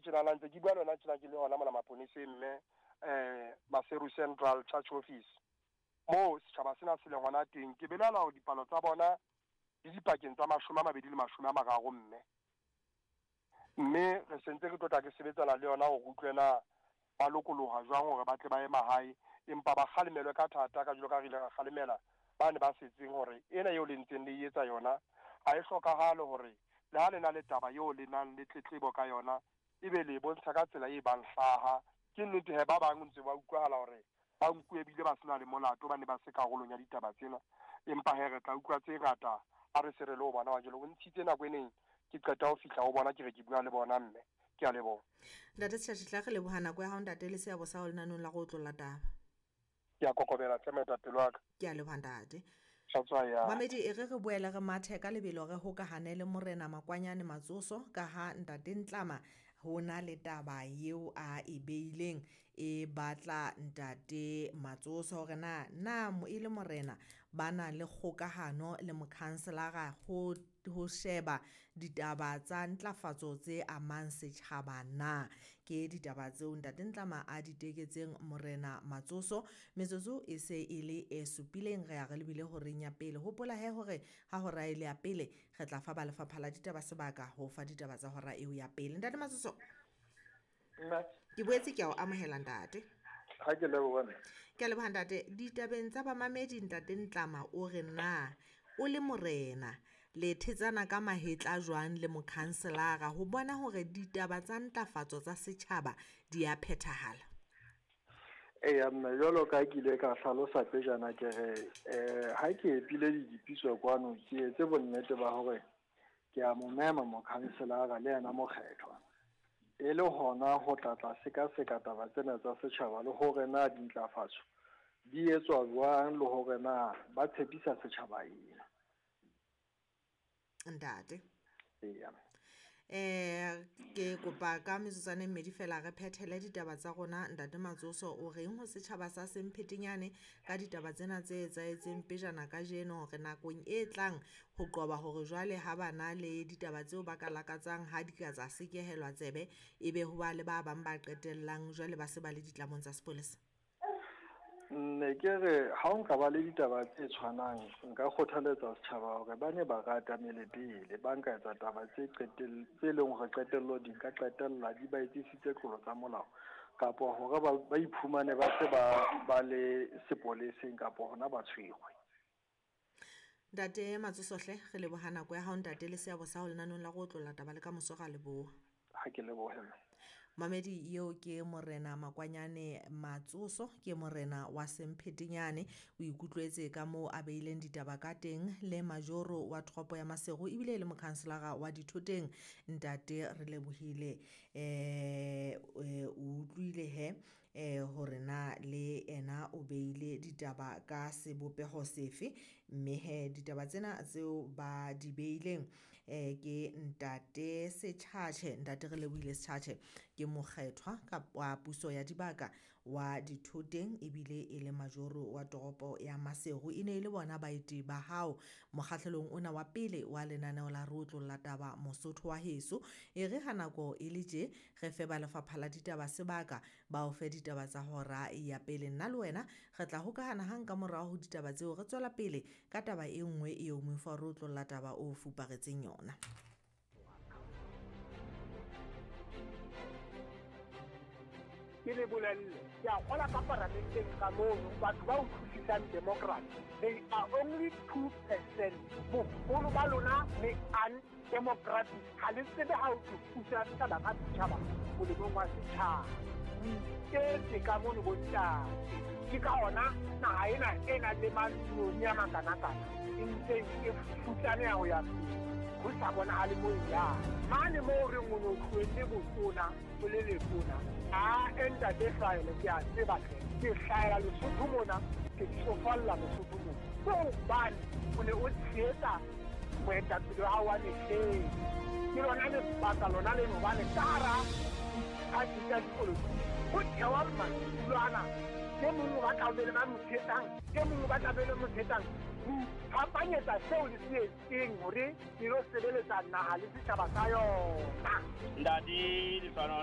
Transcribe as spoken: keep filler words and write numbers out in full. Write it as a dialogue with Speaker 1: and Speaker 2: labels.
Speaker 1: tjenana ntse ke bua le wena tjena ke le hona mona maponeseng mme eh Maseru Central Church Office moo setjhaba sena se leng hona teng. Ke belaela hore dipalo tsa bona di dipakeng tsa mashome a mabedi le mashome a mararo mme. Mme re sentse re tlotla ke sebetsana le yona hore utlwe na ba lokoloha jwang hore ba tle ba ye mahae, empa ba kgalemelwe ka thata ka jwalo ka re ile ra kgalemela ba ne ba setseng hore ena eo le ntseng le e etsa yona ha e hlokahale hore le ha le na le taba eo le nang le tletlebo ka yona ebe le bontsha ka tsela e bang hlaha. Ke nnete he ba bang ntse ba utlwahala hore ba nkuwe ebile ba sena le molato, ba ne ba se karolong ya ditaba tsena, empa he re tla utlwa tse ngata ha re se re le ho bona wa jwalo. O ntshitse nako e neng ke qeta ho fihla ho bona ke re ke bua le bona mme. Ke a leboha.
Speaker 2: Ntate Setjhatjhe, tla re leboha nako ya hao ntate le seabo sa ho lenanong la go otlolla taba.
Speaker 1: Ke a kokobela tle moetapele wa ka.
Speaker 2: Ke a leboha ntate.
Speaker 1: Tla
Speaker 2: Mamedi e re re boele re mathe ka lebelo re hokahane le Morena Makwanyane Matsoso ka ha ntate Ntlama ho na le taba eo a e beileng e batla ntate Matsoso hore na na e le morena ba na le kgokahano le mokhanselara ho ho sheba ditaba tsa ntlafatso tse amang setjhaba na. Ke ditaba tseo ntate Ntlama a di teketseng Morena Matsoso. Metsotso e se e le e supileng re ya re lebile horeng ya pele. Hopola he hore ha hora e le ya pele re tla fa ba lefapha la ditaba sebaka ho fa ditaba tsa hora eo ya pele. Ntate Matsoso, ke boetse ke a o amohela ntate.
Speaker 3: Ha ke leboha.
Speaker 2: Ke a leboha ntate. Ditabeng tsa bamamedi ntate Ntlama o re na o le morena le thetsana ka mahetla jwang le mokhanselara ho bona hore ditaba tsa ntlafatso tsa setjhaba di a phethahala?
Speaker 3: Eya mme, jwalo ka ke ile ka hlalosa pejana ke re eh ha ke epile didipiso kwano ke etse bonnete ba hore ke a mo mema mokhanselara le yena mokgethwa e le hona ho tla tla sekaseka taba tsena tsa setjhaba le hore na dintlafatso di etswa jwang le hore na ba tshepisa setjhaba eng.
Speaker 2: Ntate.
Speaker 3: Eya.
Speaker 2: Eh ke kopa ka metsotswana e mmedi fela re phethele ditaba tsa rona. Ntate Matsoso o reng ho setjhaba sa Semphetenyane ka ditaba tsena tse etsahetseng pejana kajeno hore nakong e tlang ho qoba hore jwale ha bana le ditaba tseo ba ka lakatsang ha di ka tsa sekehelwa tsebe ebe ho ba le ba bang ba qetellang jwale ba se ba le ditlamong tsa sepolesa?
Speaker 3: Ne ke re ha o nka ba le ditaba tse tshwanang nka kgothaletsa setjhaba hore ba ne ba rata mele pele ba nka etsa taba tse qetell tse leng hore qetello di ka qetella di ba etsisitse tlolo tsa molao kapa hore ba ba iphumane ba se ba ba le sepoleseng kapa hona ba tshwerwe.
Speaker 2: Ntate Matsoso hle re leboha nako ya hao ntate le seabo sa ho lenanong la go otlolla taba le ka moso ra leboha.
Speaker 3: Ha ke lebohe.
Speaker 2: Mamedi eo ke Morena Makwanyane Matsoso, ke morena wa Semphetenyane. O ikutlwetse ka moo a beileng ditaba ka teng le majoro wa toropo ya Maseru ebile e le mokhanselara wa Dithoteng. Ntate re lebohile eh o utlwile he eh hore na le ena o beile ditaba ka sebopeho sefe, mme he ditaba tsena tseo ba di beileng eh ke ntate Setjhatjhe. Ntate re lebohile Setjhatjhe ke mokgethwa wa puso ya dibaka wa Dithoteng ebile e le majoro wa toropo ya Maseru. E ne e le bona baeti ba hao mokgahlelong ona wa pele wa lenaneo la re otlolla taba Mosotho wa heso. E re ha nako e le tje re fe ba lefapha la ditaba sebaka ba o fe ditaba tsa hora ya pele. Nna le wena re tla hokahana hang ka morao ho ditaba tseo re tswela pele ka taba e nngwe eo moifo wa re otlolla taba o fuparetseng yona.
Speaker 4: Ke le bolelle, ke a kgola ka paramenteng ka mono, batho ba utlwisisang democracy, they are only two percent. Boholo ba lona le undemocratic, ha le tsebe how to pusa setjhaba ka setjhaba molemong wa setjhaba. O iketse ka mono bontate. Ke ka hona naha ena e nang le maloni a makanakana e ntseng e futsaneha ho ya pele, ho sa bonahale moo e yang. Mane moo re reng o no tlohelle botona o le letona, a ntate Hlahele ke a tseba hle, ke hlahela Lesotho mona, ke tsofalla Lesotho mona. Ke hobane o ne o tshehetsa moetapele wa hao wa mehleng. Ke lona lebaka lona leno hobane ka hara diphathi tsa dipolotiki ho thewa madulo ana. E mong o batla ho be le ba mo tshehetsang, e mong o batla ho be le mo tshehetsang. Ho iphapanyetsa seo le se etseng hore le lo sebeletsa naha le setjhaba sa yona.
Speaker 5: Ntate Lefano